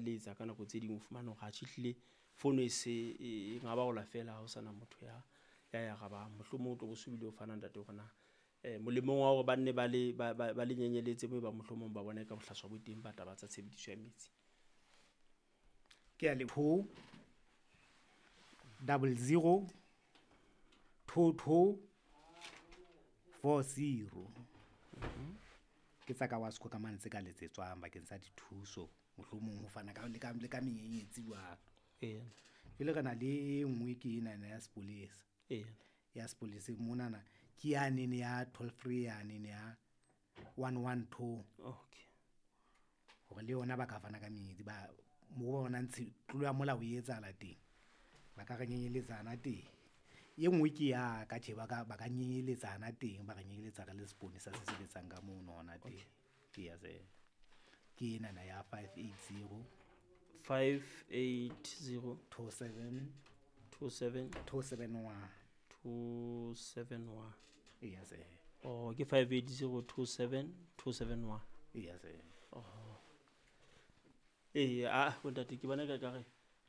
letsa ka nako tse ding o fumane hore atjhe ehlile fono e se e ngabaola feela ha ho sana motho ya ya arabang. Mohlomong o tlo bo so bile o fana ntate hore na molemong wa hore ba nne ba le ba le nyenyeletse moo ba mohlomong ba bona ka bohlaswa bo teng ba taba tsa tshebediso ya metsi. Ke a le 2 00 2 2 4 0. Ke tsa ka Wasco ka mane tse ka letsetswang bakeng sa dithuso, mohlomong ho fana ka le ka le ka menyenyetsi jwalo. Jwale re na le e nngwe ke enana ya sepolesa. Ya sepoleseng monana ke yanene ya toll free yanene ya 112. Hore le yona ba ka fana ka menyetsi ba mo ba bonang tlolo ya molao e etsahala teng, ba ka re nyenyeletsana teng. E nngwe ke ya ka tjhe, ba ka nyenyeletsana teng, ba re nyenyeletsa re le seponesa se sebetsang ka mono hona teng. Eya ke enana ya 580 580 27 27 271 271. Eya se. Oh, ke 580 27 271. Eya se. Ee, a bontate ke bona ka kare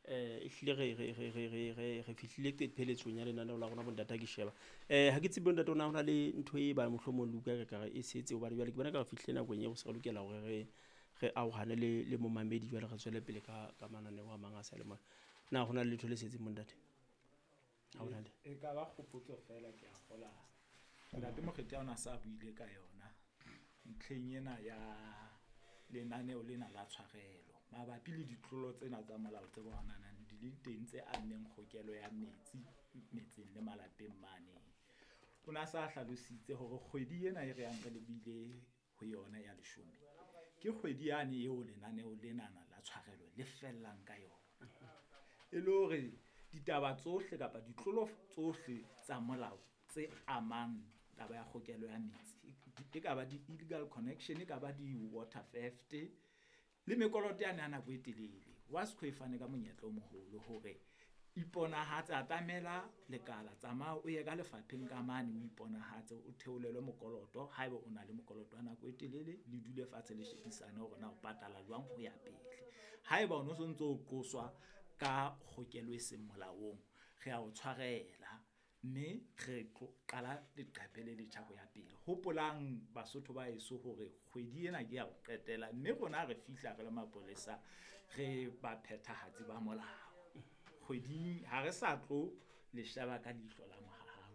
ehlile re fihlile pheletsong ya lenaneo la rona bontate ha ke sheba. Ha ke tsebe bontate ona hona le ntho e ba mohlomong le utlwa ka kare e setse hobane jwale ke bona ka re fihlile nakong eo se re lokela hore re arohane le momamedi jwale re tswele pele ka mananeo a mang a sa le mona. Na hona le letho le setseng bontate? Ha hona le. E ka ba kgopotso feela ke a kgola. Ntate Mokgethi ha ona sa buile ka yona ntlheng ena ya lenaneo lena la tshwarelo mabapi le ditlolo tsena tsa molao tse bonanang di le teng tse ammeng kgokelo ya metsi metseng le malapeng mane. O na sa hlalositse hore kgwedi ena e re yang re lebile ho yona ya leshome ke kgwedi yane eo lenaneo lenana la tshwarelo le fellang ka yona. E le hore ditaba tsohle kapa ditlolo tsohle tsa molao tse amang taba ya kgokelo ya metsi, e ka ba di-illegal connection, e ka ba di-water theft le mekoloto yane ya nako e telele. Wasco e fane ka monyetla o moholo hore iponahatse, atamela lekala, tsamaya o ye ka lefapheng ka mane o iponahatse, o theolelwe mokoloto haeba o na le mokoloto wa nako e telele, le dule fatshe le shebisane hore na o patala jwang ho ya pele. Haeba o no sontso o qoswa ka kgokelo e seng molaong, re a o tshwarela mme re tlo qala leqephe le letjha ho ya pele. Hopolang Basotho ba heso hore kgwedi ena ke ya ho qetela, mme rona re fihla re le mapolesa re baphethahatsi ba molao. Kgweding ha re sa tlo le sheba ka leihlo la mohau,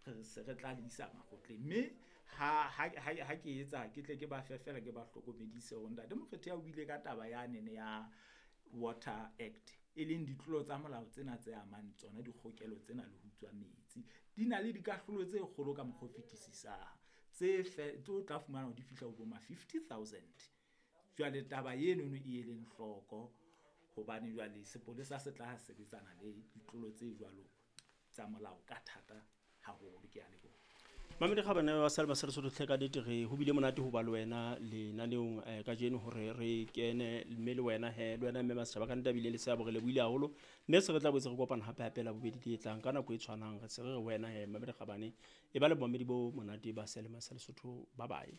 re se re tla le isa makgotleng. Mme ha ke etsa ke tle ke ba fe feela ke ba hlokomedise hore ntate Mokgethi o buile ka taba yanene ya Water Act, e leng ditlolo tsa molao tsena tse amang tsona dikgokelo tsena le ho utswa metsi. Di na le dikahlolo tse kgolo ka mokgwa o fetisisang tse tse o tla fumana hore di fihla ho bo ma 50,000. Jwale taba enono e eleng hloko hobane jwale sepolesa se tla sebetsana le ditlolo tse jwalo tsa molao ka thata haholo. Ke a leboha. Mamedi Kgabane wa Salma sa Lesotho hle ka nnete re ho bile monate ho ba le wena lenaneong kajeno hore re kene mme le wena he le wena mme Masetjhaba ka nnete a bile le seabo re lebohile haholo mme se re tla boetse re kopana hape hape la bobedi le e tlang ka nako e tshwanang re se re re wena he Mamedi Kgabane e ba le bomamedi bo monate ba Selema sa Lesotho. Bye bye.